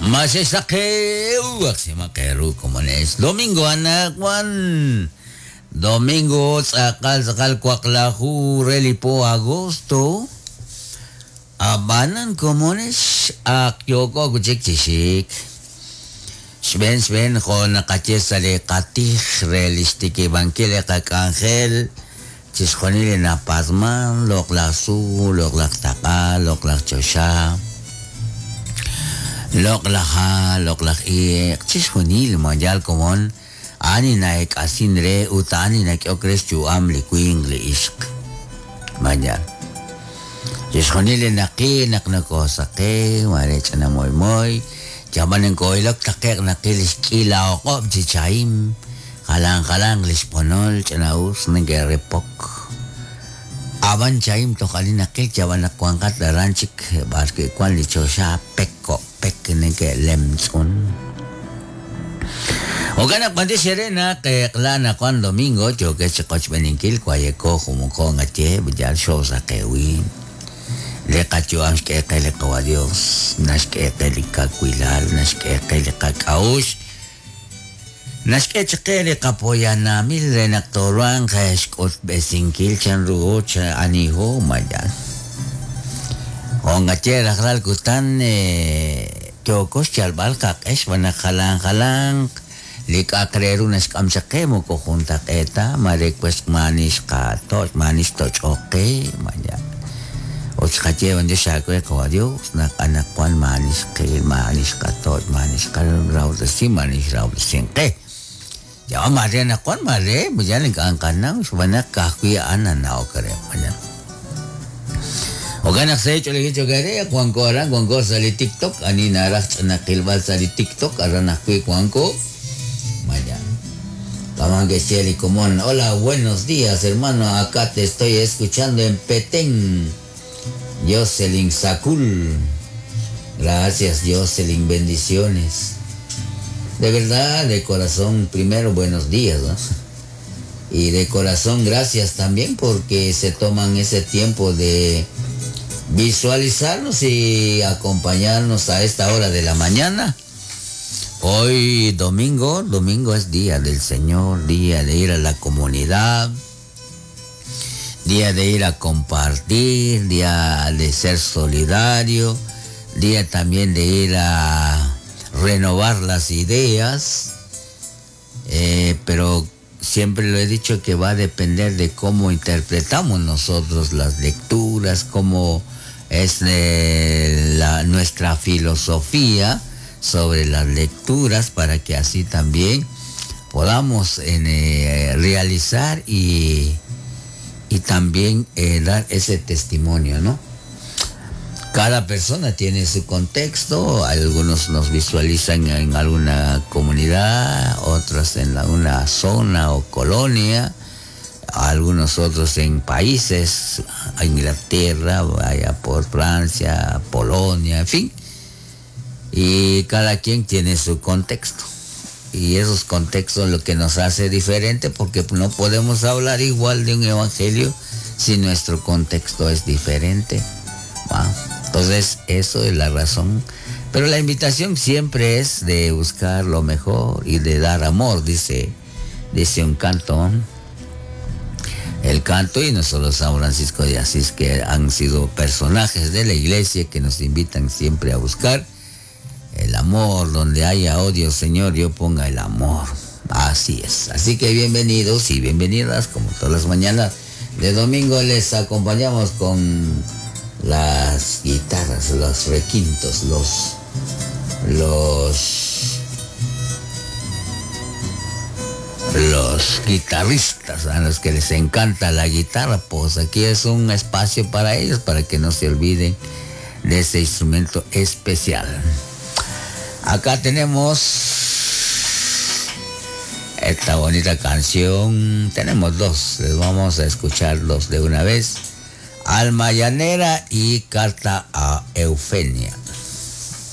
Maxexsaqew aqsimaq eeru komonex. Domingo anaqwan. Domingo tz'aqal tz'aqal waqlaju re li po agosto. Ab'anan komonex ak yooko wi' chik chi xik. Xb'een xb'een jo' naqaye sa' li qatij re li xtikib'ankil li qak'anjel, chixjunil li napatz'man, loq'laj tzuul, loq'laj taq'a, loq'laj choxa, loq'laj ha', loq'laj iq', chixjunil ma yaal komon, a'an li na'eek'asin re ut a'an li nak'ehok re xyu'am li winq li ixq. Ma yaal. Chixjunil li naqil naq nokoosaqew, maare ch'ina moymoy, yab'an nokoo'ilok taqe'q naqil li xk'iila o'q'ob' chi chahim, jalan jalanq li xb'onol ch'ina'us neke'repok. Ab'an chahim toj ani naqil yab'an naq wanqat aran chik b'arwi' wank li choxa pek jo' pek neke'lemtz'un. Jo'kan naq b'antiox eere naq eq'la anaqwan domingo yookex chi qochb'eeninkil wayeko jumuko ngaye yal xoosaqewin. Li qayu'am xk'e qe li Qawa' Dios, naxk'e qe li kawilal, naxk'e qe li qak'a'uxl, naxk'e chaq qe li qapoyanamil re naq tooruhanq xk'utb'esinkil chanruho aniho ma yaal. Jo' nqaye rajlal kutan yooko xyalb'al qaq'e xb'aan naq jalan jalanq li k'a'aq re ru naxk'am chaq qe moko juntaq'eet ta, maare wesq maa'ani xqatoch', maa'ani xtoch'ok qe, ma yaal. Ut xqaye b'antiox aawe Qawa' Dios naq anaqwan maa'ani xqil, maa'ani xqatoch', maa'ani xqarahob'tesi, maa'ani xrahob'tesink qe. Ya'an maare anaqwan maare yal ink'a' nqanaw xb'aan naq ka'ajwi' a'an nanawok re. Jo'kan naq sa' ch'oolejil cho'q eere, wanko aran, wanko sa' li TikTok, ani naraj ch'ina qilb'al sa' li TikTok, aran ajwi' wanko. Maya. Kama ke'xye li komon, Hola, buenos días, hermano, acá te estoy escuchando en Petén. Jocelyn Sacul. Gracias, Jocelyn, bendiciones. De verdad, de corazón, primero buenos días, ¿no? Y de corazón gracias también porque se toman ese tiempo de visualizarnos y acompañarnos a esta hora de la mañana. Hoy domingo, domingo es día del Señor, día de ir a la comunidad, día de ir a compartir, día de ser solidario, día también de ir a renovar las ideas, pero siempre lo he dicho que va a depender de cómo interpretamos nosotros las lecturas, cómo es nuestra filosofía sobre las lecturas para que así también podamos realizar y también dar ese testimonio, ¿no? Cada persona tiene su contexto, algunos nos visualizan en alguna comunidad, otros en alguna zona o colonia, algunos otros en países, Inglaterra, vaya por Francia, Polonia, en fin. Y cada quien tiene su contexto. Y esos contextos lo que nos hace diferente, porque no podemos hablar igual de un evangelio si nuestro contexto es diferente. ¿Va? Entonces, eso es la razón. Pero la invitación siempre es de buscar lo mejor y de dar amor, dice un canto. El canto, y no solo San Francisco de Asís, que han sido personajes de la iglesia que nos invitan siempre a buscar el amor. Donde haya odio, Señor, yo ponga el amor. Así es. Así que bienvenidos y bienvenidas, como todas las mañanas de domingo les acompañamos con las guitarras, los requintos, los guitarristas, a los que les encanta la guitarra, pues aquí es un espacio para ellos, para que no se olviden de ese instrumento especial. Acá tenemos esta bonita canción. Tenemos dos, les vamos a escuchar dos de una vez. Alma Llanera y Carta a Eufemia.